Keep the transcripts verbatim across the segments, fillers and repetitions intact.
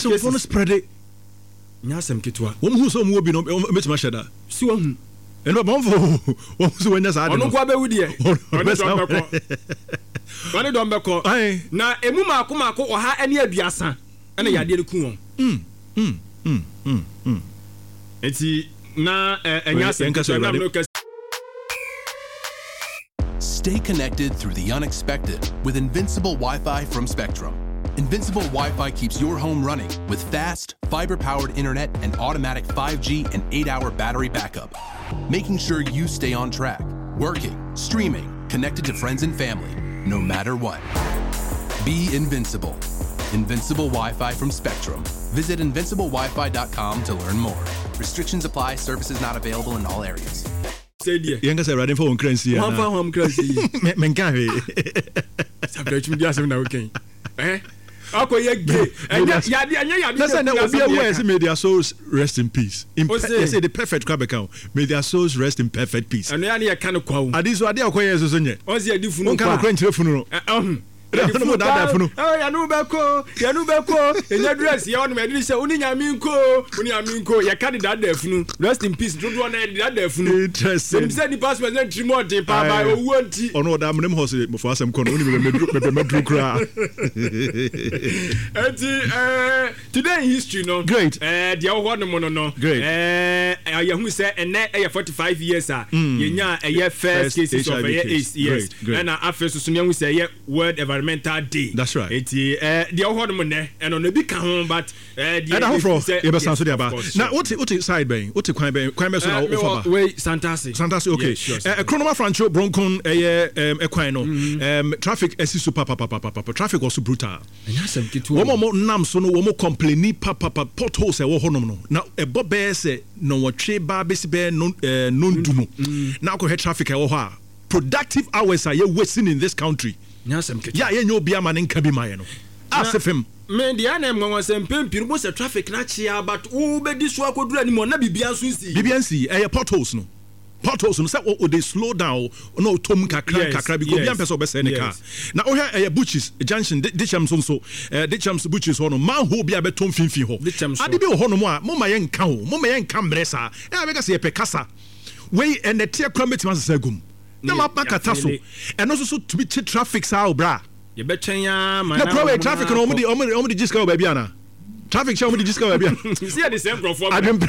Sɛ nkurɔfoɔ no spread it. Nyɛ asɛm ketewa. Wɔn hu sɛ wɔn wɔ bi no, wɔn bɛtumi ahyɛ da. Si wɔn hu. Ɛnna wɔn fɔ wɔn sɛ wɔn nyɛ saa de no. Ɔno nko abɛwu deɛ. Ɔne dɔm bɛkɔ. Ɔne dɔm bɛkɔ. Na emu mako mako ɔha ne aduasa ɛna yadeɛ no ku wɔn. Mm, mm, mm, mm, mm. Nti na ɛnyɛ asɛm ketewa nam no kɛse. Stay connected through the unexpected with Invincible Wi-Fi from Spectrum. Invincible Wi-Fi keeps your home running with fast, fiber-powered internet and automatic five G and eight-hour battery backup, making sure you stay on track, working, streaming, connected to friends and family, no matter what. Be invincible. Invincible Wi-Fi from Spectrum. Visit invincible wifi dot com to learn more. Restrictions apply. Services not available in all areas. Yɛn kasa Awurade nfa wɔn kra nsi ana. Wɔn fa wɔn kra nsi yi. Mɛ nka hwee. Sabere twem di asɛm na wokan. Eh? Akɔ yɛ gay. Ɛnyɛ yade ɛnyɛ yade. Na sɛ na obi awu a yɛsɛ may their souls rest in peace. In pe yɛsɛ the perfect kora bɛka o. May their souls rest in perfect peace. Ɛno ya ne yɛ ka no kwa o. Ade so ade a ɔkɔ yɛ so so nyɛ. Ɔsi yɛde funu kwa. Wonka no kora nkyerɛ funu no. Ɛhun. Yɛde funu daadaa funu. Ɛɛ yɛnu bɛ ko yɛnu bɛ ko enya dress yɛ ɔnum ɛdi sɛ oni nyame nko oni nyame nko yɛka de daadaa funu rest in peace dodoɔ na yɛde daadaa funu. Interesting. Yɛnim sɛ nipa sɛ ɛsɛ ntiri mu ɔden paa ba owuo nti. Ɔno ɔda amena mu hɔ sɛ mɔfɔ asɛm kɔ no oni mɛbɛ mɛduru mɛbɛ mɛduru koraa. Eti ɛɛ today in history no. Great. Ɛɛ deɛ ɔwɔ no mu no no. Great. Ɛɛ yɛhu sɛ ɛnɛ ɛyɛ forty five years a. Yɛnya ɛyɛ first cases of ɛyɛ AIDS yes. Ɛna afei soso ne yɛhu sɛ ɛyɛ World Environmental Day. That's right. Eti eh deɛ ɔhɔ nom nɛ ɛno no ebi ka ho but eh deɛ ɛda foforɔ yɛbɛsan so de aba. Na wote wote side bɛn wote kwan bɛn kwan bɛn so na wofa ba? Wei Santase. Santase okay. Eh Kronoma Francho Bronkon ɛyɛ ɛm ɛkwan no ɛm traffic ɛsi so papapapapa traffic wɔ so brutal. Ɛnyɛ asɛm ketewa. Wɔn a wɔn nam so no wɔn complaini papapa potholes ɛwɔ hɔnom no na ɛbɔ bɛyɛ sɛ nɔnwɔtwe ba bɛsi bɛyɛ non ɛɛ nondu no na akɔhwɛ traffic ɛwɔ hɔ a. Productive hours a yɛ wasting in this country. Nyɛ asɛm ketewa. Yɛ a yɛnyɛ obi ama ne nka bi ma yɛ no. Ase fam. Me deɛ na ɛnwanwa sɛ mpɛn pii no wobɛhu sɛ traffic no akye ara but wobɛdi so akɔduru anim hɔ na biribiara nso nsii. Biribiara nsii. Ɛyɛ potholes no. Potholes no sɛ o de slow down na ɔtɔ mu kakra nkakra because obiara mpɛ sɛ ɔbɛsɛe ne car. Na wohwɛ ɛyɛ Buchis junction Dikyɛm so nso eh, Dikyɛms Buchis hɔ no manhole bi a bɛtɔ mfimfini hɔ. Ade bi wɔ hɔnom a momma yɛnka o, momma yɛnka mmerɛ saa. Ɛna bɛka sɛ yɛpɛ kasa. Wei ɛnɛteɛ koraa mɛtumi asesa agu mu na ma makata so. Ɛno nso so tumi kye traffic saa o bra. Yɛbɛtwɛn ara ma na kura wei traffic no wɔn de wɔn de gye sika wɔ baabi ana? Traffic hyɛ wɔn de gye sika wɔ baabi ana? Si yɛ de sɛ nkurɔfoɔ brɛ. Adwempa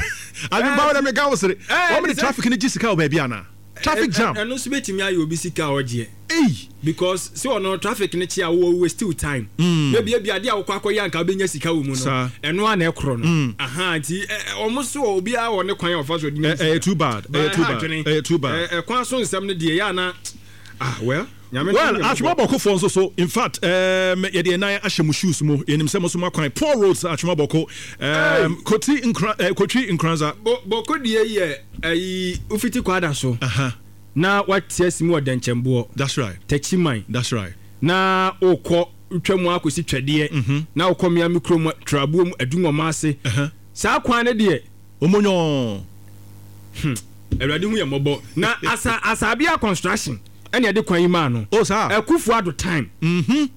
adwempa wɔn de meka wo sere. Wɔn de traffic no gye sika wɔ baabi ana? Traffic jam. Ɛno nso bɛtumi ayɛ obi sika a ɔgyeɛ. Ei. Because sɛ ɔno traffic no kye a wowɔ waste wo time. Maybe ebi adeɛ a wokɔ akɔyɛ anka wobɛnya sika wɔ mu no. Ɛno ara na ɛkorɔ no. Aha nti wɔn so obiara wɔ ne kwan a ɔfa so de nya sika. Ɛyɛ too bad. Ɛyɛ too bad. Ɛyɛ too bad. Ɛkwan so nsɛm no deɛ yɛ ana ah well. Well, Atwema Bɔkofoɔ nso so, in fact, um, yɛde yɛn nan ahyɛ mo shoes mu. Yɛnim sɛ mo so mo akwan. Poor roads, Atwema Bɔko. Um, Koti Nkra, eh, Kotwi Nkranza. Bo, Bɔko deɛ yɛ ayi wofiti Kwada so. Aha. Na wate asi mu wɔ Dɛnkyɛmboɔ. That's right. Takyiman. That's right. Na wokɔ twa mu akɔsi Twɛdeɛ. Mm-hmm. Na wokɔ Miami kurom, Trabuom, Adunwɔma ase. Uh-huh. Saa kwan no deɛ. Omonyɔɔ. Hmm. Awurade hu yɛ mmɔbɔ. Na asa Asabea construction ɛna ɛde kwan yi maa no. Oh saa. Akufo Addo time. Mhm.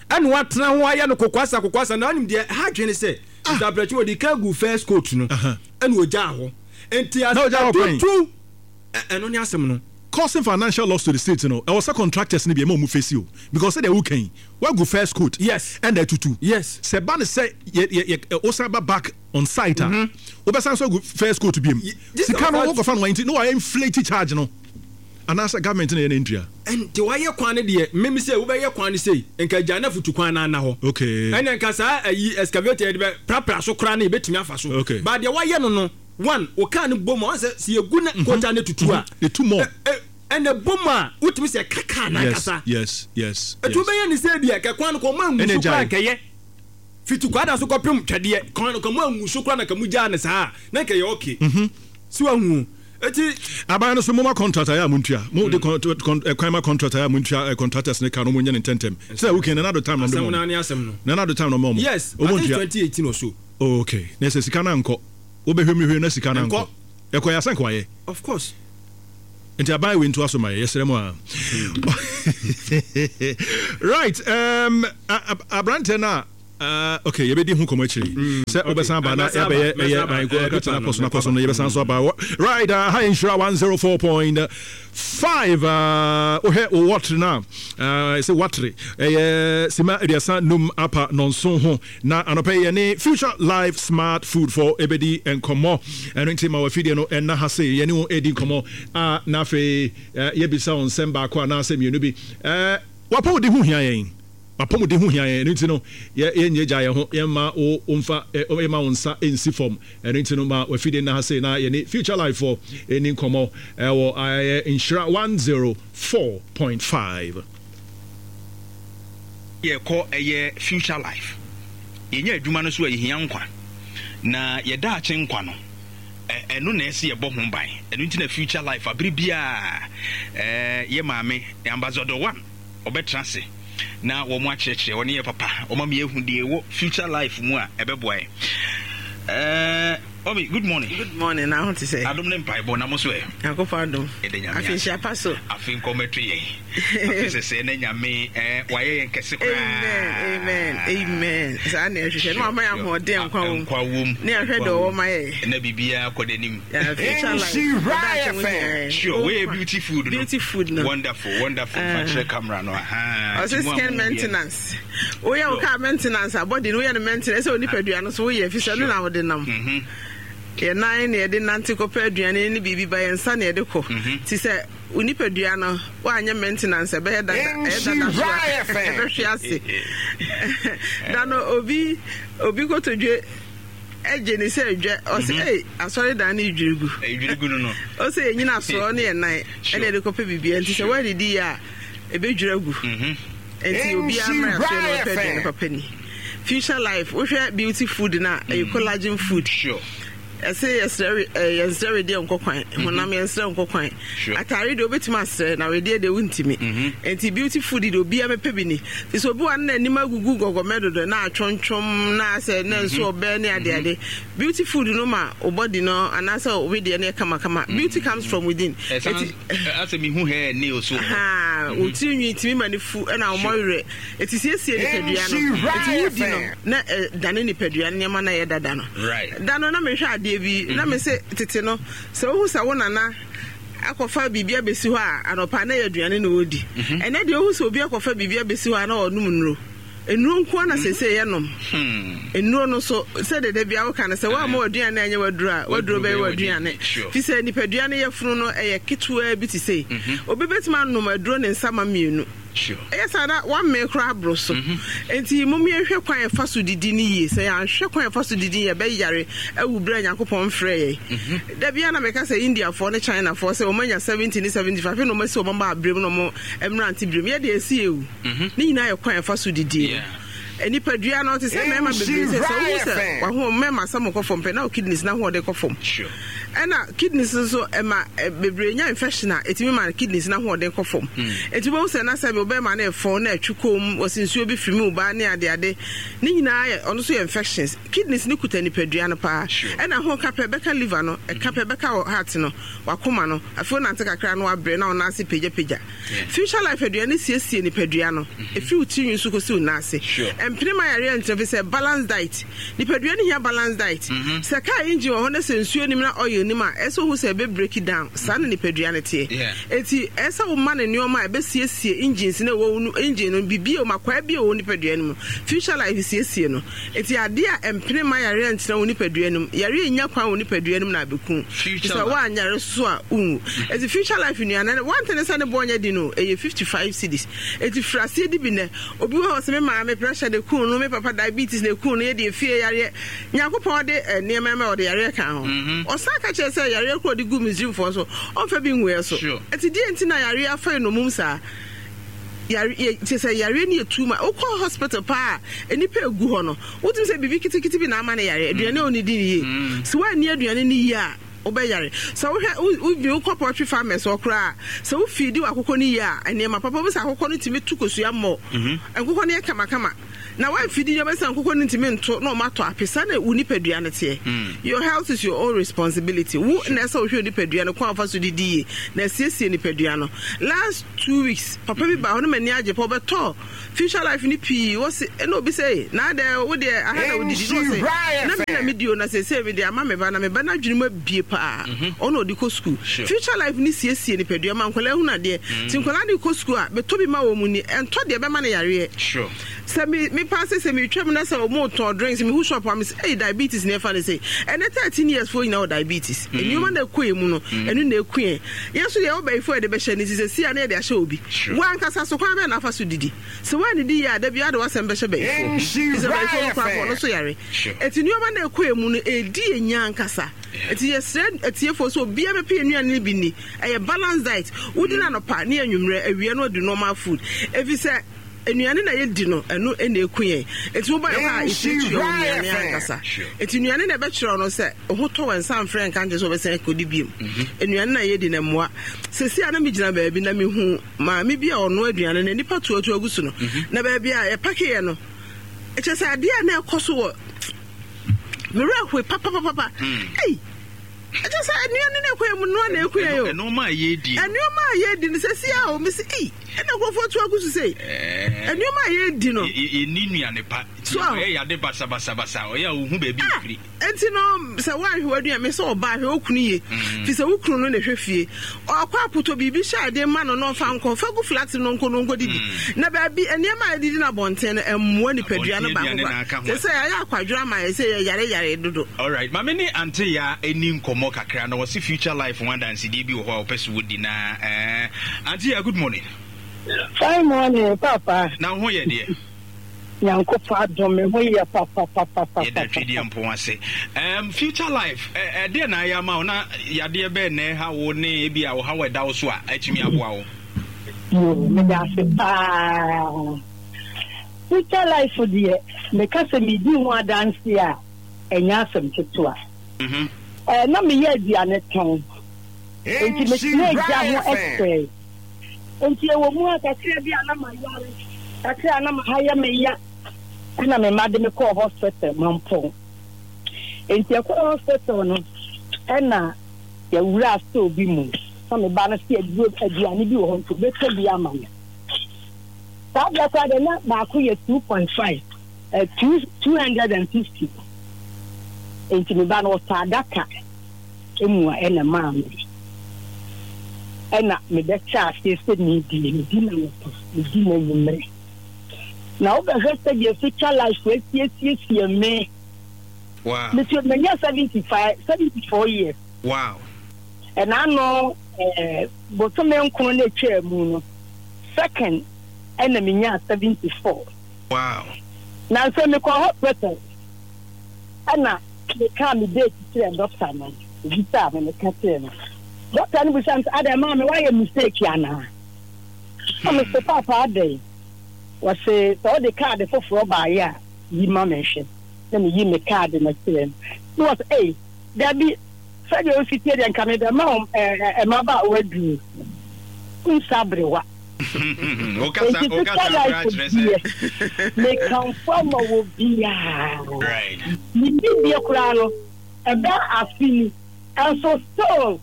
Ɛna watena ho ayɛ no kokoasa kokoasa na anim deɛ ɛha adwene sɛ. Ah. Mister Abrɛkyi wɔde kan gu first coat no. Uh-huh. Ɛna ogyaa hɔ. Nti Na ogyaa hɔ kwan. atutu ɛno ne asɛm no. Causing financial loss to the state no ɛwɔ sɛ contractors no bi ɛma ɔmo face o because sɛdeɛ woka yi wagu first coat. Yes. Ɛna atutu. Yes. Sɛ ba ne sɛ yɛ yɛ yɛ wosan ba back on site a wobɛsan so agu first coat biem. Sika no wokɔfa no nti na wɔayɛ inflate charge no anaasɛ government na yɛ na ntua. Nti wayɛ kwan no deɛ mmemme sɛ wobɛyɛ kwan no sei nka gya na futu kwan no ana hɔ. Okay. Ɛna nka saa ayi excavator yɛde bɛ prapra so koraa no yɛbɛtumi afa so. Okay. But deɛ wayɛ no no one wo car no bɔ mu a wɔn sɛ sɛ yɛgu na kota no tutu a. Etu mɔ. Ɛna bɔ mu a wotumi sɛ ɛka car no ankasa. Yes yes yes. Ɛtu bɛyɛ ne sɛ deɛ kɛ kwan no kɔ ɔmo angu so koraa nkɛyɛ. Fiti kwada so kɔpem twɛdeɛ kwan no kɔ mo angu so koraa na ka mo gyaa ne saa na nkɛyɛ okay. Si wahu eti. Aban no so mo ma contract ayɛ a mo ntua mo de kwan ma contract ayɛ a mo ntua contractors ne ka no mo nyɛ ne ntɛntɛm sɛ okay na nado time na mo na asɛm no na nado time na mo mo yes I think twenty eighteen or so. Oh, okay na sɛ sika na nkɔ wobɛhwɛ mu hwɛ na sika na nkɔ ɛkɔ yɛ asɛnka wayɛ. Of course. Nti aban wei ntoa so ma yɛ yɛsrɛ mu a. Right um, aberanteɛ no a Uh, okay, yɛbɛdi ho nkɔmmɔ akyiri sɛ wobɛsan aba na yɛbɛyɛ ɛyɛ ɛkɔtɔ na kɔso na kɔso no yɛbɛsan so aba. Right, uh, ha Nhyira one oh four point five. uh, wohwɛ wo wɔtere no a, uh, sɛ watere ɛyɛ sima aduasa num apa nɔnso ho na anɔpɛ yi yɛne Future Life Smart Food for ɛbɛdi nkɔmmɔ. Ɛno nti ma wafidie no ɛna ha se yɛne wo ɛdi nkɔmmɔ a, na afei uh, yɛbisa wo nsɛm baako anaasɛ mmienu bi. uh, wapɔmuden ho hia yɛn, apɔmuden ho hia yɛn. Ɛno nti no yɛnyɛ gya yɛn ho, yɛmma wo mfa, yɛma wo nsa nsi fam. Ɛno nti no ma wafidie nna ha sei na yɛne Future Life fo ɛni nkɔmmɔ ɛwɔ ɛyɛ Nhyira one oh four point five. Yɛkɔ ɛyɛ Future Life, yɛnya adwuma no so a, yɛhia nkwa na yɛda akye nkwa no, ɛno na ɛsɛ yɛbɔ ho ban. Ɛno nti na Future Life abere biaa yɛ maame Ambassador One ɔbɛtena ase na wɔn akyerɛkyerɛ wɔne yɛ papa, wɔn ama yɛhu deɛ ɛwɔ Future Life mu a ɛbɛboa yɛn. ɛɛ Omi, good morning. Good morning. Na ho te sɛ? Adom ne mpaebɔ na mo so ɛ? Nyankopɔn adom. Ɛda Nyame. Afe nhyia pa so. Afe nkɔmɛto yɛn. Afe sɛsɛ na Nyame ɛɛ wayɛ yɛn kɛse koraa. Amen, amen, amen. Saa na ɛhwehwɛ na wama yɛ ahoɔden, nkwa wom. Nkwa wom. Ne ahwɛ deɛ ɔwɔ ma yɛ. Na biribiara kɔ n'anim. Future Life. Sure, wey beauty food no. Beauty food no. Wonderful, wonderful. Fa kyerɛ camera no. Aha. Ɔsɛ skin maintenance. Woyɛ wo car maintenance a, body no woyɛ no maintenance sɛ onipadua no so woyɛ fi sɛ no na wode nam. Yɛ nan na yɛde nante kɔpɛ aduane ne biribi ba, yɛn nsa na yɛde kɔ. Ti sɛ wo nipadua no woanyɛ maintenance, ɛbɛyɛ dada, ɛyɛ dada so a ɛbɛhwe ase. Da no obi obi kotodwe ɛgye ne sɛ adwa, ɔsɛ ei, asɔredan no dwiri gu. Dwiri gu no no. Ɔsɛ yɛnyina soɔ ne yɛ nan ɛna yɛde kɔpɛ biribi, nti sɛ woadidi yɛ a, ɛbɛdwiri agu. Nti obiara mmerɛ asoɛ na ɔpɛ aduane papa ni. Future Life, wohwɛ beauty food no a, ɛyɛ collagen food. Sure. Ɛsɛ yɛsrɛ yɛnsrɛ wedeɛ nkɔ kwan, honam yɛnsrɛ nkɔ kwan. Atare deɛ wobɛtumi asrɛ, na wedeɛ deɛ wontumi. Nti beauty food deɛ, obiara mɛpɛ bi ni. Nti sɛ obi wa no n'anim agugu gɔgɔmɛ dodo na atwontwom na asɛ na nso ɔbɛ ne adeade, beauty food no ma wo body no anaasɛ wo wedeɛ no yɛ kamakama. Beauty comes from within. Ɛsan asɛ mihu hair nails so. Wo tiri nwi tumi ma ne fu ɛna wo mmɔwerɛ. Ɛti siesie nipadua no. Ɛti wodi no na ɛdane nipadua no nneɛma na ɛyɛ dada no. Right. Da no na mehwɛ adeɛ bi na me se tete no, sɛ wohu sɛ wo nana akɔfa biribi abɛsi hɔ a, anɔpa na yɛ aduane na ɔdi. Ɛnɛ deɛ, wohu sɛ obi akɔfa biribi abɛsi hɔ a, na ɔnom nnuro. Nnuro nko na sese yɛnom nnuro no so. Sɛ deda bia woka no sɛ woamma w'aduane anyɛ w'aduro a, w'aduro bɛyɛ w'aduane, fi sɛ nipadua no yɛfunu no ɛyɛ ketewaa bi te sei. Obi bɛtumi anom aduro ne nsa ma mmienu, ɛyɛ saa na wammee koraa aboro so. Nti mom yɛnhwɛ kwan yɛfa so didi no yie. Sɛ yɛanhwɛ kwan yɛfa so didi, yɛbɛyare awu berɛ a Nyankopɔn mfrɛ yɛn. Da bia na meka sɛ Indiafoɔ ne Chinafoɔ sɛ wɔmanya seventy ne seventy-five na ɔmasi wɔn ba aberɛ mu na ɔmo mmerante berɛ mu, yɛde ɛsi ewu. Ne nyinaa yɛ kwan yɛfa so didi no. Nipadua no te sɛ mmarima bebree sɛ sɛ wohu sɛ waho mmarima asɛm kɔ fam pɛ na wo kidneys na ahoɔden kɔ fam. Ɛna kidneys nso ɛma bebree nya infection a ɛtumi ma kidneys na ahoɔden kɔ fam. Ɛnti wobɛhu sɛ na sɛ wobɛma no ɛfɔn na ɛtwi kɔn mu, wɔsi nsuo bi firi mu ba ne adeade ne nyinaa yɛ ɔno nso yɛ infections. Kidneys ne kuta nipadua no paa. Ɛna ho ka pɛ bɛka liver no, ɛka pɛ bɛka wɔ heart no, wakoma no. Afei wonante kakra no wabrɛ na wo nan ase pagyapagya. Future Life aduane siesie nipadua no ɛfiri wo tirinwi so kɔsi wo nan ase. Ɛmpene ma yareɛ ntena fi sɛ balance diet. Nipadua no hia balance diet. Sɛ car engine wɔ hɔ na sɛ nsuo nim na oil nim a, ɛsɛ ohu sɛ ɛbɛ break down. Saa na nipadua no teɛ. Eti ɛsɛ wo ma no nneɛma a ɛbɛsiesie engines na ɛwɔ wo engine no, biribi a makwaa bi a ɛwɔ nipadua no mu. Future Life siesie no. Eti adeɛ a ɛmpene ma yareɛ ntena wo nipadua no mu, yareɛ nya kwan wɔ nipadua no mu na abɛku sɛ woanyare so a wonwu. Eti Future Life nnuane no, one thing sɛ ne bɔ nyɛ di no, ɛyɛ fifty five cedis. Eti firi aseɛ di bi nɛ. Obi wɔ hɔ sɛ me maame pressure de kun no, me papa diabetes na ekun no, yɛ deɛ fie yareɛ. Nyankopɔn de nneɛma ma ɔde yareɛ ka ho. Ɔsan ka kyerɛ sɛ yareɛ koro ɔde gu Misrimfoɔ so, ɔmfa bi ngu yɛ so. Eti deɛ nti na yareɛ afa yɛ nomum saa? Yare yɛ kyerɛ sɛ yareɛ no yɛ too much. Wokɔ hospital paa a, nnipa egu hɔ no, wotumi sɛ biribi kitikiti bi na ama no yare. Aduane a ɔnidi no yie. Sɛ woanni aduane no yie a, wobɛyare. Sɛ wohwɛ wobi wokɔ poultry farmers hɔ koraa, sɛ wofeedi w'akokɔ no yie a, nneɛma papa bi sɛ akokɔ no tumi tu kosua mmɔ. Nkokɔ no yɛ kamakama. Na woamfidi nneɛma sɛ nkokɔ no ntumi nto na ɔma atɔ ape. Saa na wo nipadua no teɛ. Your health is your own responsibility. Wo na ɛsɛ wohwɛ wo nipadua no kwan a wofa so didi yie na asiesie nipadua no. Last two weeks, papa bi baa hɔ na m'ani agye pa, ɔbɛtɔɔ Future Life no pii. Wɔse ɛna obi sɛ, Ei, na adɛn wo deɛ aha na wodidi? Na ɔse, Na me na medi o, na seesei mede ama me ba, na me ba no adwene mu abue paa. Ɔno na ɔde kɔ sukuu. Future Life no siesie nipadua ma nkwadaa hunu adeɛ. Nti nkwadaa no rekɔ sukuu a, metɔ bi ma wɔn ni, ɛntɔ deɛ ɛbɛma no yareɛ. Sɛ me me paa sɛ sɛ metwam na sɛ wɔn retɔn drinks, mehu shop a, mese, Ei, diabetes na ɛfa no sei. Ɛnnɛ thirteen years foɔ nyinaa wɔ diabetes. Nneɛma no a ɛkɔ yɛn mu no, ɛno na ɛku yɛn. Yɛn nso deɛ yɛwɔ bayifoɔ a yɛde bɛhyɛ no nti seesei a na yɛde ahyɛ obi. Wo ankasa so kwan bɛn na wofa so didi? Sɛ woannidi yie a, da biara wode w'asɛm bɛhyɛ bayifoɔ. Ɛfiri sɛ bayifoɔ no koraa mpo, ɔno nso yare. Enti nneɛma no a ɛkɔ yɛn mu no, ɛredi yɛn nya ankasa. Enti yɛsrɛ atiefoɔ sɛ obiara bɛpɛ yɛn nnuane no bi nni. Ɛyɛ balanced diet. Wodi no anɔpa ne anwummerɛ, awia no woadi normal food. Ɛfiri sɛ nnuane na yɛdi no, ɛno na ɛku yɛn. Enti woba yɛn hɔ a, yɛtuatua wo nnuane ankasa. Enti nnuane na ɛbɛkyerɛ wo no sɛ wo ho tɔ wo a, nsa mfrɛ nka nkyerɛ sɛ wobɛsan akɔdi biom. Nnuane na yɛdi no mmoa. Seesei a na megyina baabi na mehu maame bi a ɔnoa aduane na nnipa tuatua gu so no, na baabi a yɛpakeeɛ no, kyerɛ sɛ adeɛ a na ɛkɔ so wɔ me werɛ hoe papapapa. Ei! Ɛkyɛ sɛ nnuane no ɛkɔ yɛ mu noa na ɛku yɛn o. Nneɛma a yɛredi. Nneɛma a yɛredi no sɛsi a o mesi ei ɛna nkurɔfoɔ tu agu so sei. Nneɛma a yɛredi no. Yɛnni nnuane pa. So ɔyɛ yade basabasabasa ɔyɛ a ohu baabi ah, efiri. Nti no sɛ woanhwɛ w'aduane me sɛ ɔbaa hwɛ wo kunu yie. Mm. Fi sɛ wo kunu no na ɛhwɛ fie. Ɔkɔ apotɔ biribi hyɛ ade ma no na ɔfa nkɔ fa gu flax no nkɔ no nkɔ didi. Mm. Na baabi nneɛma a yɛdidi no abɔnten no ɛmmoa nipadua no baako kora. Sɛ sɛ yɛayɛ akwadworɔ ama yɛ sɛ yɛyare yare dodo. Alright, ma me ne Ante Yaa ɛni nkɔmmɔ kakra na ɔse future life ho adansedie bi wɔ hɔ a ɔpɛ sɛ wɔdi na eh, Ante Yaa, good morning. Fine morning, Papa. Na wo ho yɛ deɛ? Nyankopɔn adom me ho yɛ papapapapa. Yɛda Twedeɛ Mpɔn ase. Um, future life, ɛdeɛ na ayɛ ama wo na yadeɛ bɛn na ɛha wo ne ebi a ɔhaw a ɛda wo so a atumi aboa wo? Yoo, meda ase paa. Future life deɛ, meka sɛ medi ho adanse a, ɛnyɛ asɛm ketewa. Mhm. Eh, na meyɛ aduane tɔn, enti metenaa gya ho kyɛe. Enti ɛwɔ mu a kakra bi a na mayare, kakra a na maha yɛ me ya, ɛna me mma de me kɔɔ hospital Mampong. Enti ɛkɔɔ hospital no, ɛna yɛwuraa store bi mu, na me ba no se aduro aduane bi wɔ hɔ nti obɛtɔ bi ama me. Saa berɛ koraa deɛ na baako yɛ two point five, eh, two, two hundred and fifty. Enti me ba no ɔtɔ adaka mua ɛna ɛmaa me. Ɛna mebɛhyɛ aseɛ sɛ meredie, medi no anɔpa, medi no anwummerɛ. Na wobɛhwɛ sɛdeɛ future life asiesiesie me. Wow. Mete manya seventy five, seventy four years. Wow. Ɛna ano eh, bosome nkron na etwaa mu no, second ɛna menyaa seventy four. Wow. Na nso mekɔ hospital ɛna mekaa me date kyerɛɛ dɔkta no, obisaa me, meka kyerɛɛ no. Dɔkta no bisaa me sɛ, adɛn maame woayɛ mistake anaa? Na mese, paapa adɛn? Wɔse sɛ wode kaade foforɔ baeɛ a, yi ma me nhwɛ. Na meyi me kaade no kyerɛɛ no. Na wɔse, ei, dabi, sɛdeɛ wosi tie deɛ nka mebɛma wo mmabaawa aduro. Nsa aberewa. Wokasa Enti wokasa future koraa life kyerɛ sɛ deɛ, mekamfo ama wɔ biara. Right. Ne dibea koraa no, ɛbɛ afe ni, nso still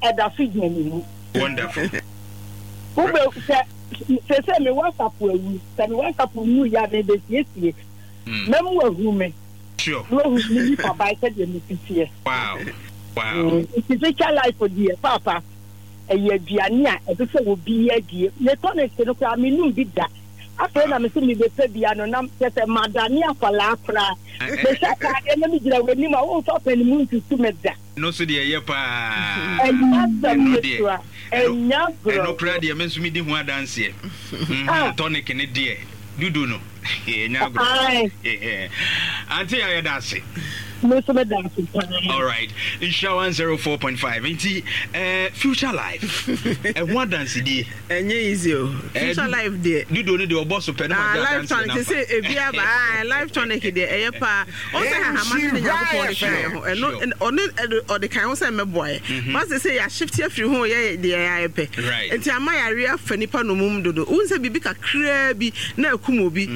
ɛda so gyina ne mu. Wonderful. Wobɛ sɛ sese me WhatsApp awu, sɛ me WhatsApp nwu yɛ a mebɛsiesie. Mɛma wahu me. Sure. Na wahu me nipa ban sɛdeɛ mesi teɛ. Wow. Wow. Nti future life deɛ, paapa. Ɛyɛ aduane a ɛsɛ sɛ obiara die. Me tonic no koraa mennom bi da. Afei na mese mebɛpɛ bi ano na kyerɛ sɛ madane akwadaa koraa. Mehyɛ ataadeɛ na megyina w'anim a womfa pɛn mu ntutu me da. Ɛno nso deɛ ɛyɛ paa. Ɛnyɛ asɛm Ɛno deɛ, ketewa. ɛno, Ɛnyɛ ɛno agorɔ. koraa deɛ me nso medi ho adanseɛ. Mhm, Ah. tonic no deɛ, dudu no, ɛnyɛ agorɔ. Ae. Auntie a yɛda ase. Me nso meda ase paa. Alright, Nhyira one zero four point five nti eh, future life ɛho adansedie. Ɛnyɛ easy o. Eh, Future life deɛ. Dudo no deɛ ɔbɔ so pɛ na Ah, wagye life adanseɛ tonic no sɛ afa. ebi aba ah, life tonic deɛ ɛyɛ paa. Ɔn sɛ hahama no ne Nyankopɔn de kan yɛ ho. Ɛno Sure. ɔne ɛde ɔde kan ho sɛ mmɛboa yɛ. Ba sɛ sɛ yɛahyifte afiri ho yɛ deɛ yɛayɛ pɛ. Right. Nti ama yareɛ afa nipa nomum dodo. Wohu sɛ biribi kakraa bi na akum obi.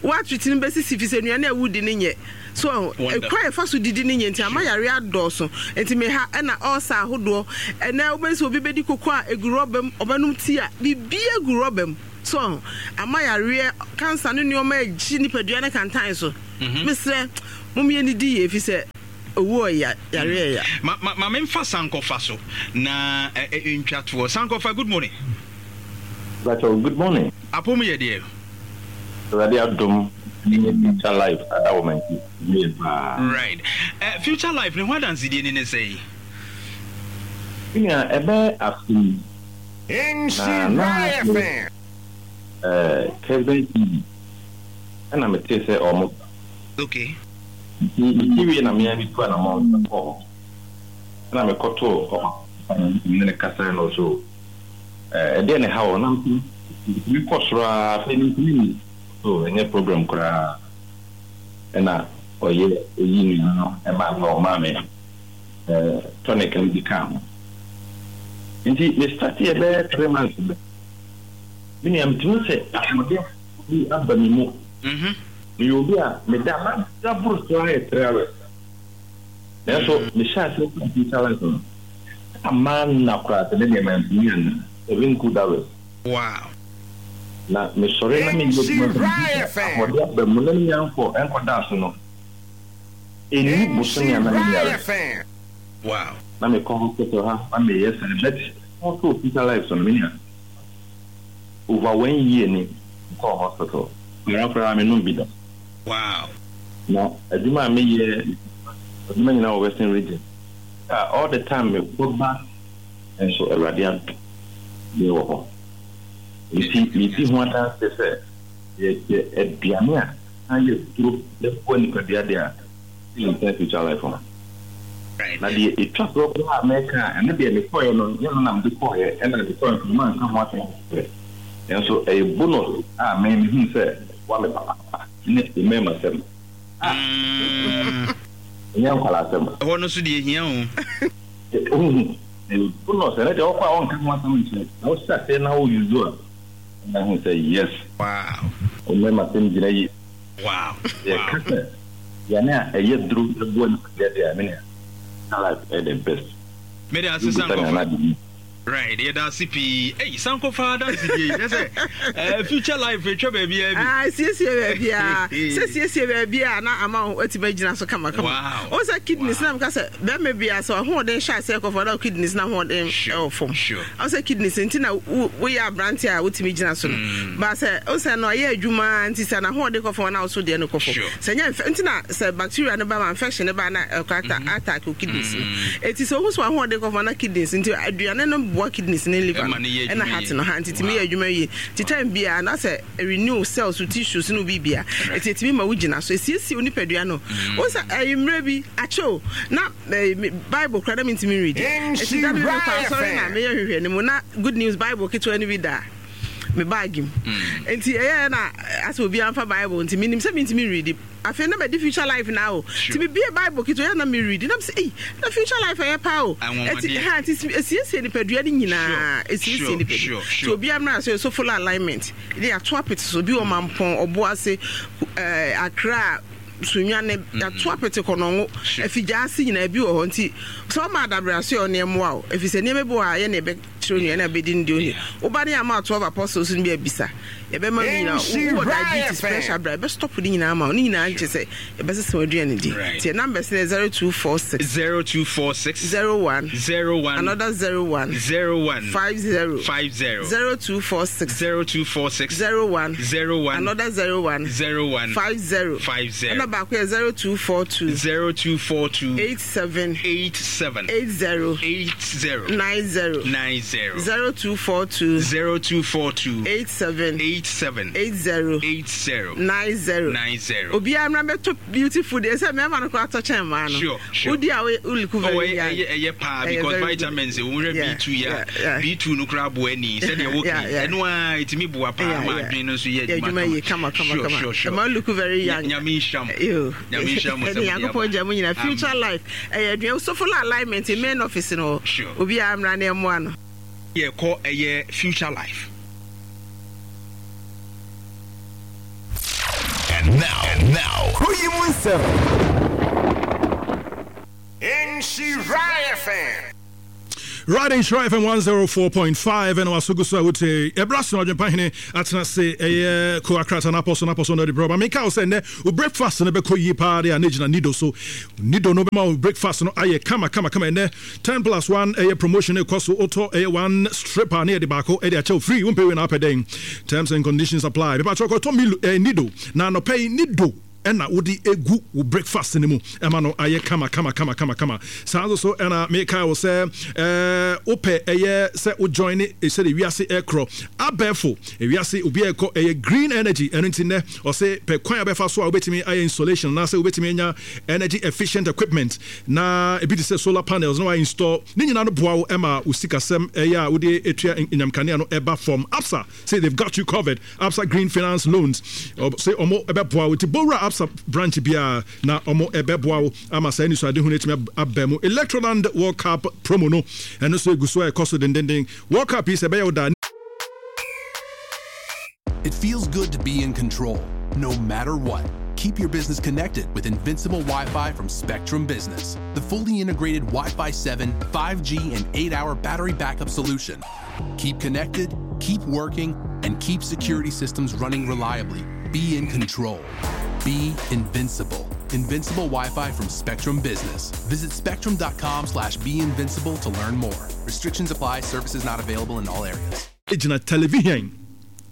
Woatriti no bɛsisi fi sɛ nnuane a wodi no nyɛ. So ɛkwan a yɛfa so didi no nyɛ nti ama yareɛ adɔɔso. Nti me ha ɛna ɔɔsa ahodoɔ. Ɛnɛ wobɛhu sɛ obi bɛdi koko a ɛgu rɔba mu, ɔbɛnom tea a biribiara gu rɔba mu. So ama yareɛ, cancer ne nneɛma agye nipadua ne kantan so. Mesrɛ mom yɛnnidi yie ɛfiri sɛ owuo ɔya, yareɛ ɛya. Ma ma ma memfa Sankɔfa so na ɛ ɛ ntwa toɔ. Sankɔfa, good morning. Mpakyɛw, good morning. Apom yɛ deɛ? Awurade adom ne Future Life adawoma nti, me ho yɛ paa. Right. Eh, Future Life ne ho adansedie ni ne sɛn? Me nua, ɛbɛyɛ afe ni na na me eh, Kesben T V ɛna metee sɛ ɔmo ba. Okay. Nti mete wie na me ara metu anamɔn kɔɔ hɔ. Ɛna mekɔtoo ɔpapa no, me ne no kasae na ɔse o, eh, ɛdeɛn na ɛha wo? Na mese, metumi kɔ soro ara, afei mentumi nni. So ɛnyɛ problem koraa. Ɛna ɔyɛ ɔyii nnuane no maa me, ɔmaa me eh, tonic no bi kaa ho. Nti me starteɛ bɛyɛ three months bɛ, me nua metumi sɛ ahoɔden bi aba me mu. Meyɛ obi a meda mada boro so ara yɛ three hours. Nanso mehyɛɛ aseɛ sɛ future life no, na manna koraa sɛ me deɛ mantumi anna seven good hours. Wow. Na mesɔre na meyɛ adwuma sɛ mehu sɛ ahoɔden aba mu na menya nkɔ nkɔdaa so no, ɛnni bosome a na menyare. Wow. Na mekɔ hospital ha na meyɛ saa but kɔtoo future life so no me nua over one year ni mekɔɔ hospital para koraa menom bi da. Wow. Na adwuma a meyɛ adwuma nyinaa wɔ Western region a all the time mekɔ ba nso Awurade adom deɛ wɔ hɔ. Nti medi ho adanseɛ sɛ yɛyɛ aduane a na yɛ duro na ɛboa nipadua deɛ a ɛyɛ future life ho. Na deɛ ɛtwa soɔ koraa a mɛka a ɛno deɛ mekɔeɛ no nyɛ no na mede kɔeɛ ɛna mekɔeɛ nso manka ho asɛm pɛ nanso ɛyɛ bonus a me mehunu sɛ ɛboa me papaapa ne mmarima sɛm a ɛnyɛ nkwadaa asɛm. Ɛhɔ no nso deɛ ɛhia o. Wohu ɛyɛ bonus ɛno deɛ wokɔ a wɔnka ho asɛm nkyerɛ na wohyɛ aseɛ na wo use a na hu sɛ yes. Wow. Wo mmarima sɛm gyina yie. Wow. Yɛka sɛ aduane a ɛyɛ duro boa nipadua deɛ a, me nua, salad ɛyɛ the best. Mede ase Wobisa me Sankofa. anaa biribi. Right, yɛda ase pii. Ei, Sankofa adansedie yi, kyerɛ sɛ eh, future life etwa baabiara bi. Ah, siesie baabiara. Sɛ siesie baabiara na ama wo atumi agyina so kamakama. Wow. Wo sɛ kidneys na meka sɛ bɛrima biara sɛ ɔhoɔden hyɛ aseɛ kɔ fam na wo kidneys na ahoɔden Sure, ɛwɔ fam. sure. Wo sɛ kidneys nti na wo woyɛ aberante a wotumi gyina so no. Ba sɛ wo sɛ no ɔyɛ adwuma nti sɛ n'ahoɔden kɔ fam na wo so deɛ no kɔ fam. Sure. Sɛ nyɛ nfɛ nti na sɛ bacteria no ba ma infection no ba na ɛkɔ ata attack wo kidneys no. Eti sɛ wohu sɛ w'ahoɔden kɔ fam na kidneys nti aduane no boa kidneys ne liver no Ɛma no yɛ ɛna adwuma heart yie. no ha nti tumi Wow. yɛ adwuma yie. Nti time biara na sɛ renew cells wo tissues ne wo biribia. Eti etumi ma wo gyina so esiesie wo nipadua no. Wohu sɛ ɛyi mmerɛ bi akyɛ o na ɛyi me bible koraa na mentumi nredi. Eti da bi mekɔ asɔre na meyɛ hwehwɛ no mu na good news bible ketewa no bi da me bag mu. Nti ɛyɛɛ na asɛ obiara mfa bible nti menim sɛ mentumi nredi. Afei na madi future life na o. Nti mebie bible ketewa yɛ na meredi na mesɛ ei na future life ɛyɛ paa o. Eti ha nti esiesie nipadua no nyinaa esiesie nipadua. Nti obiara mmra so so follow alignment. Ne yɛato apete so obi wɔ Mampɔn, Ɔboase, ɛɛ Accra, Sunyani yɛato apete Kɔnɔngo, Afigya ase nyinaa bi wɔ hɔ nti sɛ ɔma adabrɛ so yɛ ɔne ɛmmoa o. Ɛfiri sɛ nneɛma bi wɔ hɔ a yɛ na yɛbɛkyerɛ onua na abɛdi no deɛ ɔni. Woba ne yɛama twelve apostles no bi abisa. Yɛbɛma no nyinaa. Wowɔ diabetes, pressure bra yɛbɛstop ne nyinaa ma wo. Ne nyinaa nkyɛ sɛ yɛbɛsesa w'aduane di. Nti yɛ numbers no yɛ zero two four six. Zero two four six. Zero one. Zero one. Another zero one. Zero one. Five zero. Five zero. Zero two four six. Zero two four six. Zero one. Zero one. Another zero one. Zero one. Five zero. Five zero. Ɛna baako yɛ zero two four two. Zero two four two. Eight seven. Eight seven. Eight zero. Eight zero. Nine zero. Nine zero. Zero two four two. Zero two four two. Eight seven. Eight eight seven eight zero eight zero nine zero nine zero. Obiara mmra bɛtɔ beautiful deɛ sɛ mmarima no koraa tɔ kyɛn mmaa no. Sure, sure. Wodi a wo look very young. Ɛyɛ ɛyɛ paa because vitamins wɔn hwɛ B two ya B two no koraa boa ani sɛdeɛ wɔka ɛno a ɛtumi boa paa ma adwene no nso yɛ adwuma yie kama kama kama. Sure, sure. Ɛma look very young. Nyame nhyira mo. Nyame nhyira mo sɛ mo de aba. Nyankopɔn gya mo nyina future life ɛyɛ aduane Sofola alignment main office no. Sure. Obiara mmra na ɛmmoa no. Yɛkɔ ɛyɛ future life. And now, and now, Nhyira F M. Right, Nhyira F M one oh four point five and wasogu so wote ebra so adwempa hene atena se eye ko akrata na aposo na aposo na de bro ma meka wo se ne wo breakfast no be ko yi pa de anegina nido so nido no be ma wo breakfast no aye kama kama kama ne ten plus one eye promotion e koso auto eye one stripper ne de baako e de ache free wo pay we na apeden terms and conditions apply be pa choko to mi nido na no pay nido ena wodi egu wo breakfast ne mu ema no aye kama kama kama kama kama saa so ena meka wo se eh ope eye se wo join e se de wiase ekro abefo e wiase obi ekọ eye green energy eno nti ne o se pe kwan abefa so a obetimi aye installation na se obetimi anya energy efficient equipment na ebi te se solar panels no install ni nyina no boa wo ema wo sikasem eye a wodi etua nyamkanea no eba from Absa say they've got you covered. Absa Green Finance Loans say omo ebe boa wo ti bowra Absa branch bia na omo ebeboa ama sa ni so ade hu netimi abamu Electroland World Cup promo no eno so eguso e koso dendenden World Cup is ebe yoda. It feels good to be in control no matter what. Keep your business connected with Invincible Wi-Fi from Spectrum Business, the fully integrated Wi-Fi seven, five G, and eight-hour battery backup solution. Keep connected, keep working, and keep security systems running reliably. Be in control. Be invincible. Invincible Wi-Fi from Spectrum Business. Visit spectrum.com slash be invincible to learn more. Restrictions apply. Services not available in all areas. Television.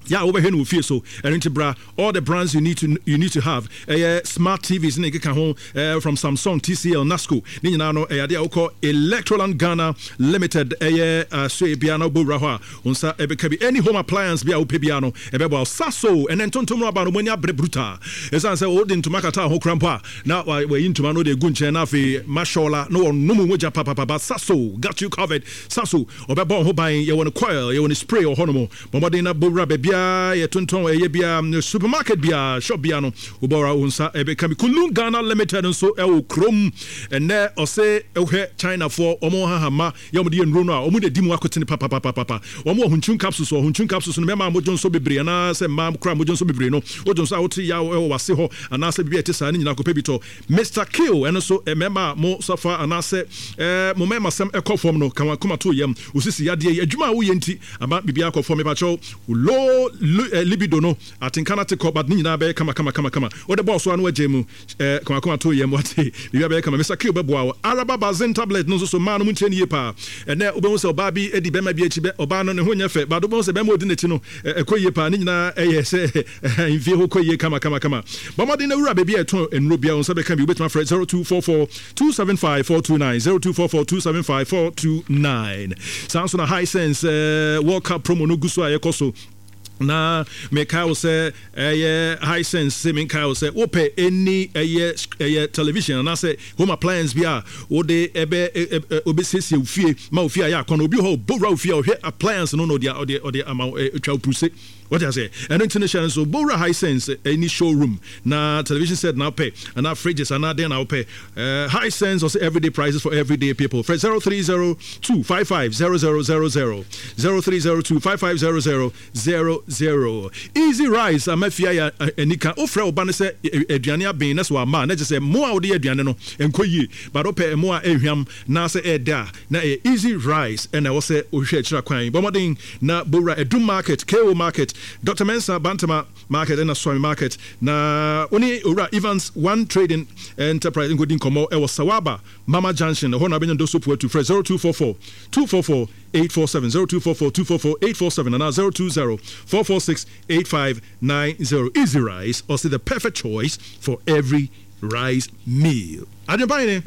Yeah, over here no fear so and bra all the brands you need to you need to have uh, smart T Vs ne keka ho uh, from Samsung, T C L, Nasco ne nyina no eh ade a wokɔ Electroland Ghana Limited eh uh, so e bia na bowra ho a onsa e beka bi any home appliance bia wo pe bia no e bebo saso ene ntontom no aba no mani abre brutal esan se wo de ntoma kata ho krampo a na wa yi ntoma no de gu nchen na afi mashola no no mu moja papa papa saso got you covered. Saso obebo ho ban ye won coil ye won spray o ho no mo bomodin na bowra be bia ye tonton eye bia supermarket bia shop bia no obora onsa ebe kami Kulun Ghana Limited nso e wo krom ene ose ehwe China for omo hahama ye omo de nro no a omo de di mu akotene papa papa papa omo ohunchun capsules ohunchun capsules no mema mojo nso bebre na se ma kra mojo nso bebre no ojo nso a wote ya e wo wase ho ana se bibia te saa ne nyina kope bito Mister Kill ene so e mema mo safa ana se eh mo mema sem ekofom no kan kuma to yam osisi yade adwuma a wo ye nti ama bibia akofom me pa cho low libido no atinkana te but ni nyina be kama kama kama kama o de boss ano agye eh kama kama to yem wate bibia be kama Mister Kill beboa Araba Bazin tablet no so so ma no muntie ne ye pa ene obehu se oba bi edi be ma bi achi be oba no ne ho nya fe ba do obehu se be ma odi n'achi no ekɔ ye pa ne nyina eye se mfie ho kɔ ye kama kama kama bomodin na wura be bi eto enro bia on se be kan bi obetuma frɛ zero two four four two seven five four two nine zero two four four two seven five four two nine Samsung na Hisense World Cup promo no guso ayekɔ so na meka wo se eh Hisense se meka wo se wo pe any eh eh television na se home appliance bia wo de ebe obesiesie ofie ma ofie ya akɔ no obi ho bowra ofie o hwe appliance no no de ode ode ama twa pruse. What I say? And international so Bora Hisense any showroom na television set now pay and our fridges and then now pay. Uh, Hisense also everyday prices for everyday people. For zero three zero two five five zero zero zero zero zero three zero two five five zero zero zero zero. Easy rice. I'm a enika ofre obane se aduane aben na so ama na je say mo a wo de aduane no enko yie but ope mo a ehwam na se eda na easy rice and I was say ohwe akira kwan. Bomodin na Bora Edum Market, K O Market, Doctor Mensa Bantama Market and Swami Market na oni ora Evans One Trading Enterprise ngodin komo e Sawaba Mama Junction ho na benyo do so to frɛ zero two four four two four four eight four seven zero two four four two four four eight four seven and zero two zero four four six eight five nine zero. Easy rice also the perfect choice for every rice meal. Adwempa ne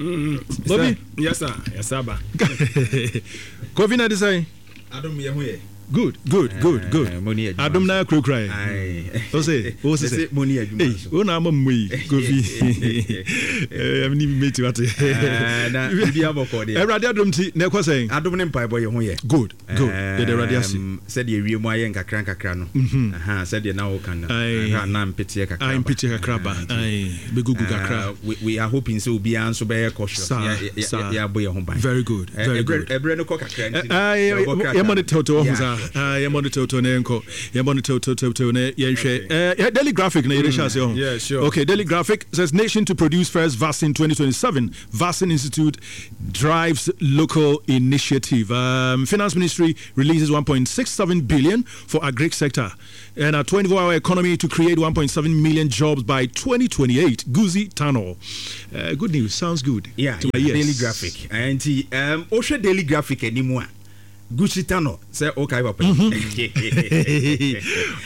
Bobby. Yes sir. Yes sir ba. Kofi na de say Adom ye ho ye. Good, good, good, good. Adom na kurakura yɛ. O se, o se sɛ. Ei, o na ama mmu yi, Kofi. Ɛm ni meti wate. Na bibi abɔkɔ deɛ. Awurade adom ti na ɛkɔ sɛn. Adom ne mpaebɔ yɛ ho yɛ. Good, good. Yɛde Awurade ase. Sɛdeɛ wiem ayɛ nkakra nkakra no. Aha, sɛdeɛ na woka no. Aha, na mpeteɛ kakra ba. Mpeteɛ kakra ba. Bɛgugu kakra. We, we are hoping sɛ obiara nso bɛyɛ cautious. Saa, saa. Yɛabɔ yɛn ho ban. Very good, very good. Ɛberɛ no kɔ kakra nti. Yɛmmɔ no tɛwtɛw ɔho saa. Yɛmmɔ no tɛwtɛw na yɛnkɔ. Yɛmmɔ no tɛwtɛwtɛw na yɛnhwɛ. Daily Graphic na yɛde hyɛ ase ɔho. Yeah, sure. Okay, Daily Graphic says nation to produce first vaccine twenty twenty-seven. Vaccine Institute drives local initiative. Um, Finance Ministry releases one point six seven billion for agric sector. And a twenty-four hour economy to create one point seven million jobs by twenty twenty-eight. Guzi Tunnel. Uh, good news. Sounds good. Yeah, to yeah, my ears. Daily Graphic. And um, Osha Daily Graphic anymore. Gucci Tunnel. Say okay, papa.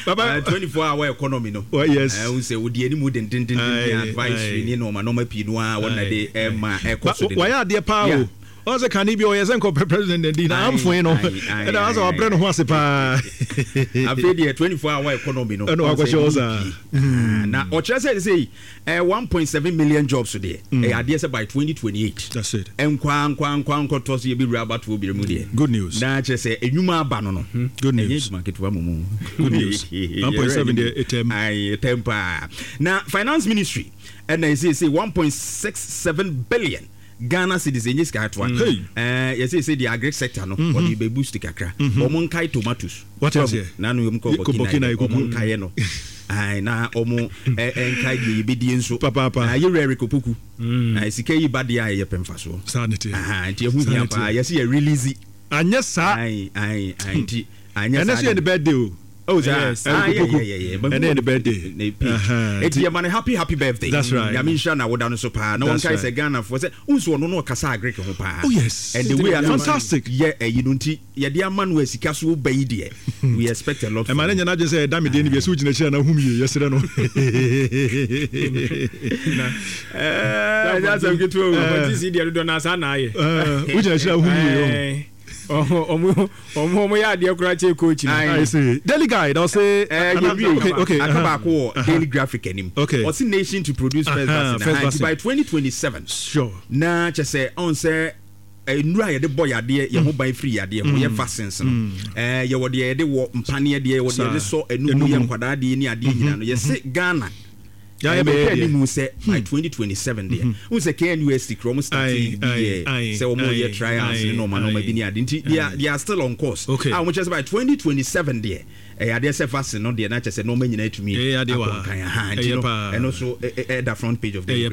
Baba, twenty-four hour economy no. Well, yes. I will say we any more than den den advisory ni no ma no ma pii no a one day eh ma e cost. Why are there power? Ɔsɛ kane bi ɔyɛ sɛ nkɔpɛ president di na amfoe no ɛna asɛ wabrɛ no ho ase paa. Afei deɛ twenty-four hour economy no ɛna wakɔhyɛ hɔ saa. Na ɔkyerɛ sɛ sɛ eh, one point seven million jobs deɛ ɛyɛ adeɛ sɛ by twenty twenty-eight. That's it. Nkwa nkwa nkwa nkɔtɔ so yɛbɛwura abatoɔ bi mu deɛ. Good news. Na kyerɛ sɛ enwuma aba no no. Good news. Ɛnyɛ adwuma ketewa mu mu. Good news. one point seven deɛ ɛtɛm. Ayi ɛtɛm paa. Na finance ministry ɛna ɛsɛ sɛ one point six seven billion Ghana cedis enye sika atoa. Eh, yɛsɛ sɛ the agric sector no or the boost kakra. Omo nkai tomatoes. What is it? Na no yom ko Burkina omo nkai no. Ai na omo nkai de yebedie nso. Papa papa. Na ye rare kopoku. Na sika yi ba de a ye pemfa so. Sanity. Aha, nti ehu hia pa. Yɛsɛ ye release. Anya sa. Ai ai ai nti anya sa. Ene so ye the birthday o. Oh, yes. Ah, yeah, yeah, yeah, yeah. And then the birthday. It's your man, happy, happy birthday. That's right. Yamisha na woda no so pa. No one can say Ghana for say unso no no kasa agric ho pa. Oh yes. And the way fantastic. Yeah, eh you nti ye de ama no asika so ba yi de. We expect a lot. E man nya na say da me de ni bi so gina chira na hum ye yesere no. Eh, that's a good one. But this idiot do na sa na ye. Eh, wo gina chira hum ye. Oh, omo omo ya de kura che coach. I see. Daily Guide I'll say eh okay okay akabako Daily Graphic anim. Okay. What's nation to produce first vaccine by twenty twenty-seven. Sure. Na che say on say enura ye de boy ade ye ho ban free ade ho ye vaccines no. Eh ye wo de ye de wo mpane de ye wo de de so enu ye nkwada de ni ade nyina no. Ye say Ghana. Yeah, yeah, yeah. Ni say by twenty twenty-seven there. Who say K N U S T Chrome start say omo year trials no man no bi ni ade. Nti they are they are still on course. Okay. Ah, much by twenty twenty-seven there. Eh ade say vaccine no there na che say no ma nyina atumi. Eh ade wa. And also eh the front page of the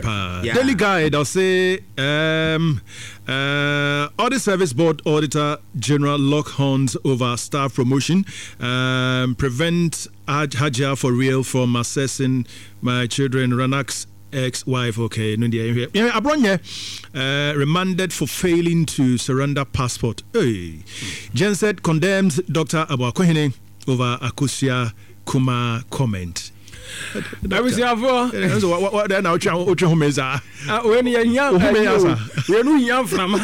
Daily Guide I'll say um uh Audit Service Board Auditor General lock horns over staff promotion, um prevent Hajia for real from assessing my children. Ranak's ex-wife, okay, yeah, Abronye, uh, remanded for failing to surrender passport. Hey. Jenset condemns Doctor Abuakohene over Akusia Kuma comment. Abusiafo. So what what then now try otwe homeza. Ah we ni hia we nu hia mframa.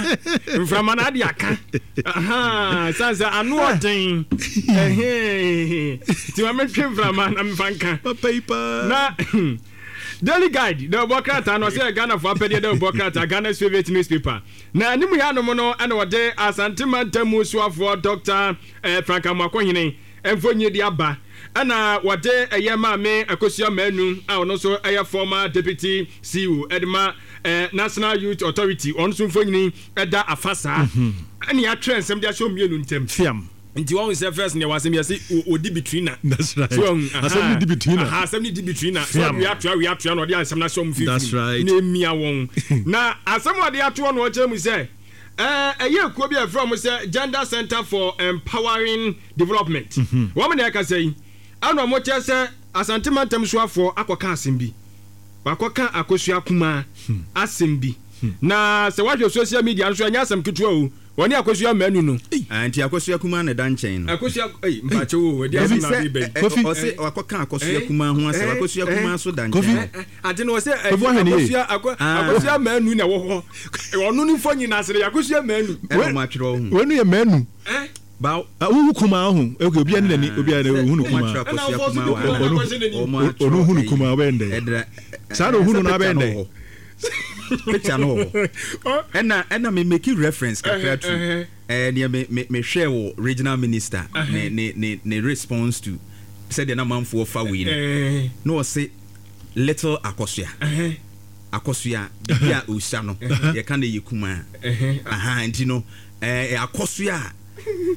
Mframa na de aka. Aha, sansa anu odin. Eh. Ti wa metwe mframa na mfanka. Paper. Na Daily Guide, the Bokrata no say Ghana for apede the Bokrata Ghana's favorite newspaper. Na animu ya no no na wode Asante Mantamu suafo Doctor Frank Amoakohene emfonye di aba. Ana wade eye maame Akosua Manu a ono so eye former deputy C E O Edma National Youth Authority ono so mfonyini eda afasa. Ani atwe nsem de ahye mienu ntem. Fiam. Nti won se first ne wasem yesi odi between na. That's right. Asem ni di between na. Aha, asem ni di between na. So we atwa we atwa na odi asem na hye mfifiri. That's right. Na emia won. Na asem odi atwa no o mu se eh eye kuo bi afro se Gender Center for Empowering Development. Won na ka sei ana mo che se Asante Mantam suafo akoka asem bi. Wakoka Akosua Kuma asem bi. Na se wahwe social media nso anya asem ketewa o. Woni Akosua Manu no. Anti Akosua Kuma na dan chen no. Akosua eh mpache wo we dia na bi ben. Kofi o se wakoka Akosua Kuma ho asem Akosua Kuma so dan chen. Ade no o se Akosua Akosua Manu na wo ho. Ono ni fo nyina sere Akosua Manu. E no ma twero ho. We no ye Manu. Eh Ba wohu kumaa ho okay obi ani nani obi ani hu no kumaa ɔno hu no kumaa ɔbɛyɛ ndɛ saa na ohu no na abɛyɛ ndɛ picture no wɔ hɔ ɛna ɛna me make reference kakra to ɛɛ neɛ me me mehwɛ wɔ regional minister ne ne ne ne response to sɛdeɛ na manfoɔ fa wei no na ɔse little Akosua Akosua bibi a osua no yɛka no yɛ kumaa aha nti no ɛɛ Akosua a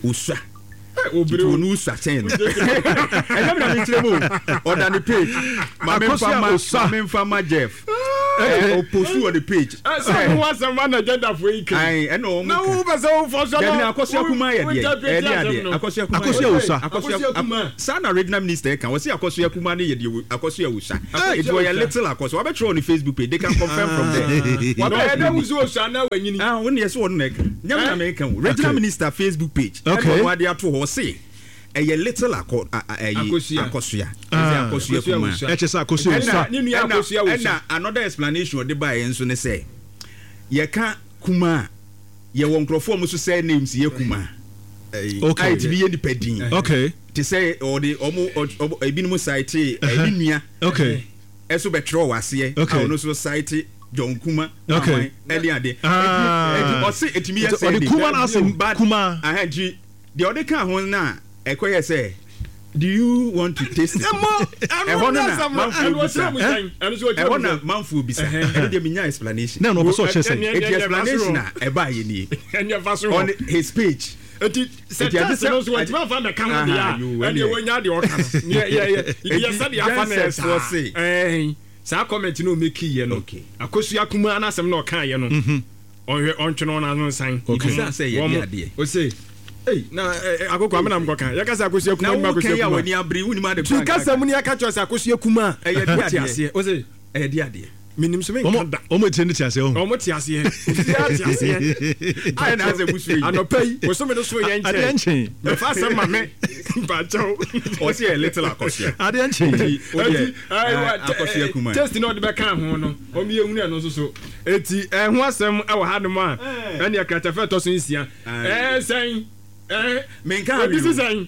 osua nti wɔn osua kyɛn no ɛnyɛ mi na mi kyerɛ mu o ɔda ne page maame nfa ma maame nfa ma Jeff ɔpostu wɔ ne page. Sɛ wo asɛm ma na gender fo yi kan. Ayi ɛna wɔn na wo bɛ sɛ wo fɔ sɔ na Akosua kuma yɛ deɛ ɛyɛ adeɛ Akosua kuma Akosua osua Akosua kuma saa na regional minister kan wɔsi Akosua kuma ne yɛ deɛ Akosua osua eti wɔyɛ little Akosua wabɛtwerɛ wɔ ne Facebook page, they can confirm from there. Wabɛ ɛdɛ wusu osua na wanyini. Ah, wɔn yɛ sɛ wɔn na ɛka nyɛ mi na mi ka o, regional minister Facebook page ɛna wɔn ade ato hɔ ɔse ɛyɛ little akɔ ɛyi Akosua Akosua Akosua kuma ɛkyɛ sɛ Akosua osua ɛna ɛna another explanation ɔde ba yɛn nso ne sɛ yɛka kuma yɛwɔ nkurɔfoɔ a wɔn nso sɛ names yɛ kuma okay a yɛtumi yɛ nipa din okay te sɛ ɔde ɔmo ɔmo ebinom cite ɛne nua okay ɛso bɛtwerɛ wɔ aseɛ a ɔno nso cite John Kuma okay ɛne ade ɛti ɔse ɛtumi yɛ sɛ ɔde kuma na asɛm kuma ahɛn ti deɛ ɔde ka ho na ɛkɔyɛ sɛ, do you want to taste it? Ɛhɔ no na manfoɔ bisa, ɛhɔ na manfoɔ bisa, ɛno deɛ menya explanation. Na ɔpɛ sɛ ɔkyerɛ sɛ eti explanation a ɛbaa yɛ nie on his page. Eti sɛ test no nso wɔntumi afa mɛka ho deɛ a ɛdeɛ wɔnya deɛ ɔka no yɛ yɛ yɛ sɛ deɛ afa na yɛ saa ɛɛn saa comment no ɔmɛki yɛ no Akosua kumaa n'asɛm na ɔka yɛ no ɔnhwɛ ɔntwene ɔno ano nsan. Ebisa sɛ yɛ de adeɛ. Ose ei na akoko amena mkɔ kan yɛka sɛ Akosua kuma nima Akosua kuma. Na wo kɛn a w'ani abere wonim ade kura. Kasa mu ni aka kyerɛ sɛ Akosua kuma. Ɛyɛ de adeɛ. Aseɛ ose ɛyɛ de adeɛ. Menim so menka da. Ɔmo etie ne te aseɛ o. Ɔmo te aseɛ. Obiara te aseɛ. Ayɛ na asɛ busu yi. Anɔpa yi bosome no so yɛ nkyɛn. Adeɛ nkyen. Mɛfa asɛm ma me. Mpakyɛw. Ɔsi yɛ little Akosua. Adeɛ nkyen. Eti Akosua kuma. Taste na ɔde bɛka ho no. Ɔmo yɛ hunu ɛno nso so. Eti ɛho asɛm ɛwɔ hanom a ɛne akratafɛ ɛtɔ so nsia. Ɛɛ sɛn. Ɛɛ menka ebi si sɛn.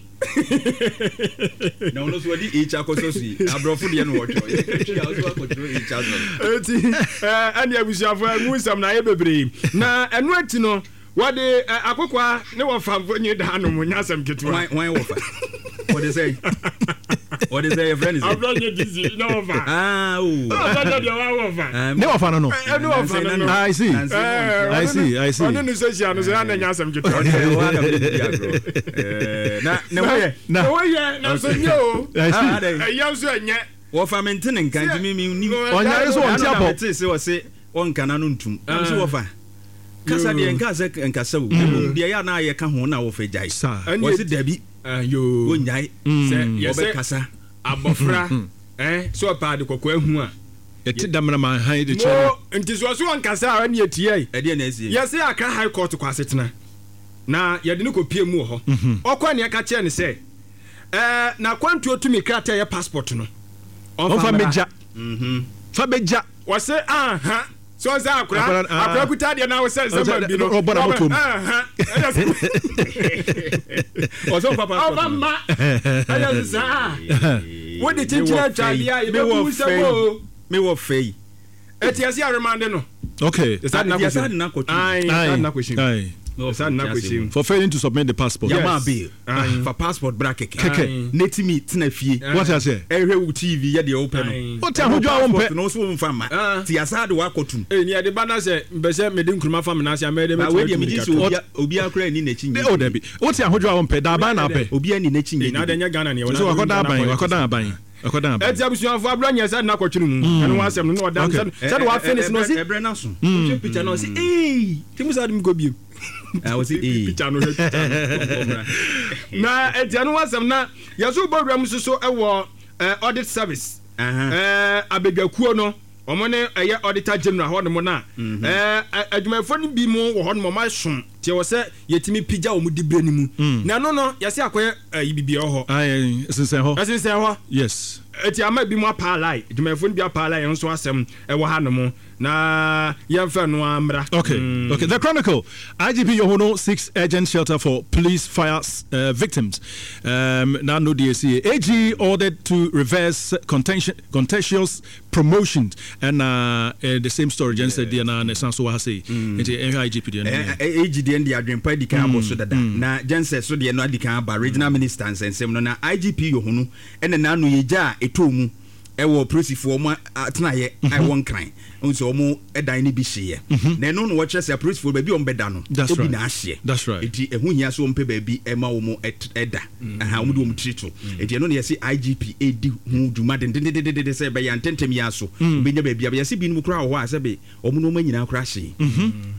Na ɔno nso ɔde H akɔsɔ so yi aborɔfo deɛ na wɔtwerɛ yɛtwi a ɔso akɔtwerɛ H asɔ. Eti ɛɛ ɛne abusuafo ɛmu nsɛm na ayɛ bebree na ɛno akyi no wɔde akokoa ne wɔfa mfonyin da anom nyɛ asɛm ketewa. Wɔn wɔfa wɔde sɛ wɔde sɛ yɛfrɛ ne sɛ. Abirɛ nye disi ne wɔfa. Aa o. Ɔsɛ deɛ deɛ wa wɔfa. Ne wɔfa no no. Ɛne wɔfa no no. I see. I see I see. Ɔne ne sɛ hyia no sɛ ɛna nyɛ asɛm ketewa. Na ne ho yɛ. Na ho yɛ na nso nye o. I see. Ɛyɛ nso ɛnyɛ. Wɔfa mi nti ne nka nti mi mi nim. Ɔnyare so ɔnti apɔ. Ɛna mi te se ɔse ɔnka na no ntum. Ɛna mi se wɔfa. Kasa deɛ nka sɛ nkasa o. Mmom deɛ yɛ a na yɛka ho na wɔfa gyae. Wɔse dabi. Wonnyae. Wɔbɛkasa. Abɔfra eh, sɛ ɔpɛ ade kɔkɔɔ ahu a. Yɛte damena ma hann de kyerɛ no. Mo, nti sɛ ɔse ɔnkasa a ɛne ɛtiae. Ɛdeɛ na asie. Yɛse Accra High Court kɔ asetena na yɛde no kɔpie mu wɔ hɔ. Ɔkɔe na yɛka kyerɛɛ no sɛ eh, n'akwantuo tumi krataa a ɛyɛ passport no, ɔmfa Ɔmfa mmra. mmɛgya. Fa bɛgya. Ɔse anha. So ɔsɛ akora akora kuta adeɛ na wosɛ nsɛm ma bi no ɔbɔ na motom ɔsɛ ɔfa passport ɔfa mma ɛyɛ saa wode kyinkyin atwa adeɛ a yɛbɛbu sɛ wo mewɔ fɛ yi ɛti ɛsɛ aremande no okay yɛsa de na kɔtwi yɛsa de na kɔhyɛ yɛsa de na kɔhyɛ for failing to submit the passport. Yama bail fa passport bra kɛkɛ kɛkɛ netimi tena fie. Wate aseɛ. Ɛhwɛ wo T V yɛ deɛ wopɛ no. Wote ahodwo a wompɛ. Passport no so womfa mma ti asa de wakɔtum. Ee ni ɛde ba na sɛ mpɛ sɛ mede nkuruma fa me nan ase a mɛyɛ dɛ mɛtumi atu mmirika. Wei deɛ megye sɛ obiara koraa nni n'akyi nyɛ. O dabi, wote ahodwo a wompɛ, daaban na apɛ. Obiara nni n'akyi nyɛ. Na adɛ nyɛ Ghana neɛ wɔn. So wakɔda aban, wakɔda aban. Wakɔda aban. Ɛti abusuafo abira nyɛ sɛ na akɔtwene mu. Ɛno ho asɛm no na ɔda sɛ sɛ de wafe ne se na ɔsi. Ɛbrɛ n'aso. Ɔhwɛ picture na ɔsi ee ti mu saa de mu kɔ biem. Ɔsi ee. Picture no hwɛ picture no. Na ɛti ɛno ho asɛm na yɛso bɔ wura mu soso ɛwɔ audit service. Ɛɛ abadwakuo no wɔn ne ɛyɛ auditor general hɔ nom na ɛɛ adwumayɛfoɔ no bi mu wɔ hɔ nom wɔn asom. Nti ɛwɔ sɛ yɛtumi pigya wɔn diberɛ no mu. Na ɛno no, yɛse akɔyɛ ayi biribi ɛwɔ hɔ. Aye, ɛsensɛn hɔ. Ɛsensɛn hɔ. Yes. Eti ama ebinom apaalae, adwumayɛfoɔ no bi apaalae, ɛno nso asɛm ɛwɔ hanom. Na yɛmfa ɛno ara mmra. Okay, okay. The Chronicle, I G P Yohuno seeks urgent shelter for police fire uh, victims. Um, na no deɛ ɛsi A G ordered to reverse contention, contentious promotions. And uh, uh, the same story, Jen said, deɛ na ne san so wɔ ha sei. Nti ɛhwɛ I G P deɛ no. A G deɛ no deɛ adwempa adi kan abɔ so dada, na gyensɛ so deɛ no adi kan aba regional minister nsɛnsɛm no, na I G P Yohuno ɛna n'ano yɛ gya a ɛtɔɔ mu ɛwɔ polisifoɔ ɔmo atenaeɛ a ɛwɔ Nkran nso, ɔmo ɛdan no bi hyeeɛ, na ɛno na wɔkyerɛ sɛ apolisifoɔ baabi a ɔmo bɛda no That's ebi right. na ahyeɛ. That's right. Eti ɛho hia sɛ ɔmo pɛ baabi ɛma wɔn ɛda ɛha ɔmo de wɔn tiri to. Eti ɛno na yɛsi I G P edi ho dwuma dendendendenden sɛ ɛbɛyɛ ntɛntɛm yi aso obɛnya baabi a yɛsi binom koraa wɔ hɔ a sɛbe ɔmo nneɛma nyinaa koraa hyee,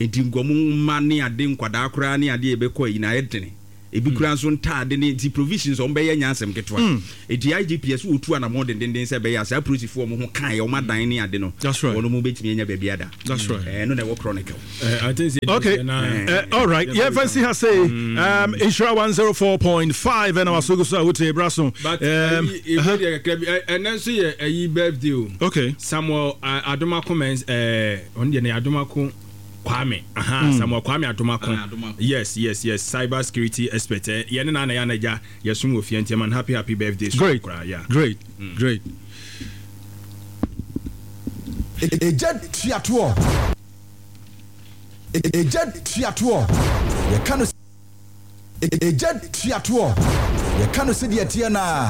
eti nkɔmɔ mma ne ade nkwadaa koraa ne adeɛ yɛbɛkɔ yi na ayɛ dene, ebi koraa nso ntaade ne nti provisions ɔmo bɛyɛ nya asɛm ketewa. Eti I G P ɛso wotu anamɔ dendenden sɛ ɛbɛyɛ a saa apolisifoɔ ɔmo ho kan yɛ ɔmo adan ne ade no, That's right. wɔn mo bɛtumi anya baabi ada. That's right. Ɛno na ɛwɔ Chronicle. I think sɛ Okay. Uh, all right. Yeah, fancy ha say um Nhyira one oh four point five and our so so wote braso. But Um ɛyi ebi deɛ kakra bi ɛ- ɛnɛ nso yɛ ɛyi birthday o. Okay. Samuel uh, Adomako Mens, ɛɛ ɔno deɛ ne Adomako Kwame, aha, mm. Samuel Kwame Adomako. Ah, Adomako. yes yes yes cyber security expert, ɛ yɛne na na yɛ anagya yɛsom wɔ fie nti man, happy happy birthday so Great. koraa, yeah. Great. Great. Egya tuatoɔ, egya tuatoɔ, yɛka no egya tuatoɔ, yɛka no sɛdeɛ teɛ naa.